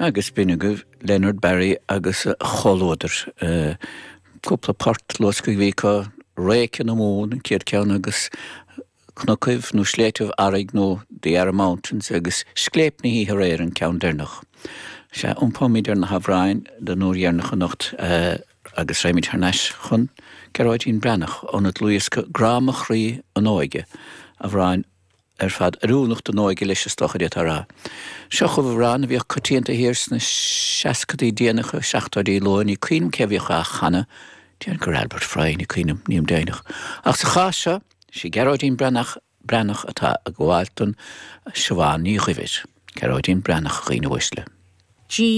Agus b'in agaibh Leonard Barry agus a chomhluadar. Cúpla port luasctha a bhí acu, Réice na Mumhan an chéad cheann agus Cnocaibh nó Sléibhtibh Arraigh nó The Arran Mountains agus Scléip na hOíche Aréir an ceann deireanach. Sea, iompóimid ar na hamhráin don uair dheireanach anocht agus raghaimid thar n-ais chun Gearóidín Breathnach óna dlúthdhiosca Grá Mo Chroí An Óige, amhráin ar fad oiriúnach don óige leis is dócha d'fhéadfá a rá. Seo chugaibh amhrán a bhíodh coitianta thiar sna seascadaí déanacha, seachtóidí luath, ní cuimhin liom cé a bhíodh á chanadh, déarfainn gur Albert Fry, ní cuimhin liom, nílim deimhneach. Ach sa chás seo, sí Gearóidín Breathnach Breathnach atá ag gabháil don Siobhán Ní Dhuibhir. Gearóidín Breathnach, a dhaoine uaisle. G.